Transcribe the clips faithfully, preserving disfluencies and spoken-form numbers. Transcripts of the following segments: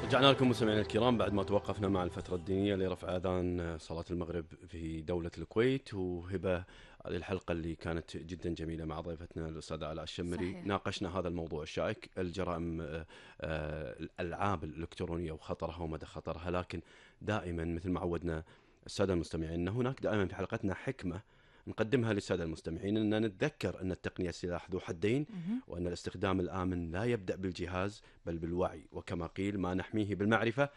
رجعنا لكم مستمعينا الكرام بعد ما توقفنا مع الفترة الدينية لرفع أذان صلاة المغرب في دولة الكويت. وهبة، هذه الحلقة اللي كانت جدا جميلة مع ضيفتنا الأستاذة علاء الشمري. صحيح. ناقشنا هذا الموضوع الشائك، الجرائم، آه، آه، الألعاب الإلكترونية وخطرها ومدى خطرها. لكن دائما مثل ما عودنا السادة المستمعين أن هناك دائما في حلقتنا حكمة نقدمها للسادة المستمعين، أن نتذكر أن التقنية سلاح ذو حدين، مهم. وأن الاستخدام الآمن لا يبدأ بالجهاز بل بالوعي، وكما قيل ما نحميه بالمعرفة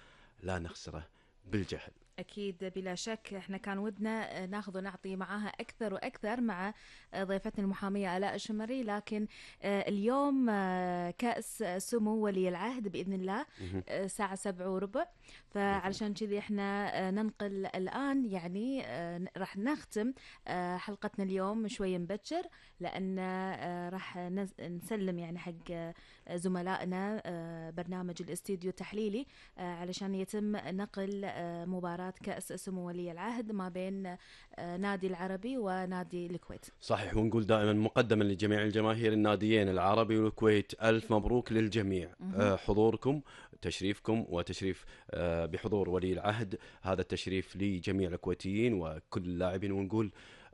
لا نخسره بالجهل. أكيد بلا شك إحنا كان ودنا ناخذ ونعطي معاها أكثر وأكثر مع ضيفتنا المحامية آلاء الشمري، لكن اليوم كأس سمو ولي العهد بإذن الله مهم. الساعة سبعة وربع، فعلشان كذي إحنا ننقل الآن، يعني راح نختم حلقتنا اليوم شوي مبكر، لأن راح نسلم يعني حق زملائنا برنامج الاستديو التحليلي علشان يتم نقل مباراة كأس سمو ولي العهد ما بين نادي العربي ونادي الكويت. صحيح، ونقول دائما مقدما لجميع الجماهير الناديين العربي والكويت ألف مبروك للجميع. مهم. حضوركم، تشريفكم وتشريف بحضور ولي العهد، هذا التشريف لجميع الكويتيين وكل اللاعبين. ونقول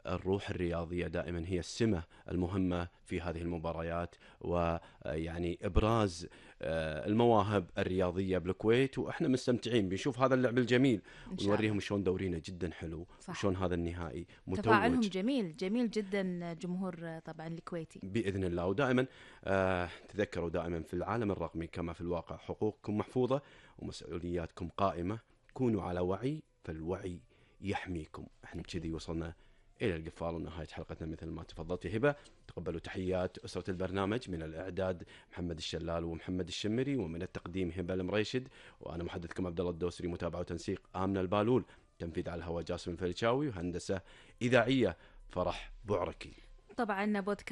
الروح الرياضية دائما هي السمة المهمة في هذه المباريات، ويعني إبراز المواهب الرياضية بالكويت، وإحنا مستمتعين بنشوف هذا اللعب الجميل ونوريهم شلون دورينا جدا حلو، وشلون هذا النهائي متوج. تفاعلهم جميل جميل جدا جمهور طبعا الكويتي بإذن الله. ودائما آه تذكروا دائما في العالم الرقمي كما في الواقع حقوقكم محفوظة ومسؤولياتكم قائمة. كونوا على وعي فالوعي يحميكم. احنا كذي وصلنا إلى القفال ونهاية حلقتنا مثل ما تفضلت هبة. تقبلوا تحيات أسرة البرنامج، من الإعداد محمد الشلال ومحمد الشمري، ومن التقديم هبة المريشد، وأنا محدثكم عبد الله الدوسري. متابعة وتنسيق آمنة البالول، تنفيذ على الهواء جاسم الفريشاوي، وهندسة إذاعية فرح بعركي. طبعا بودكاست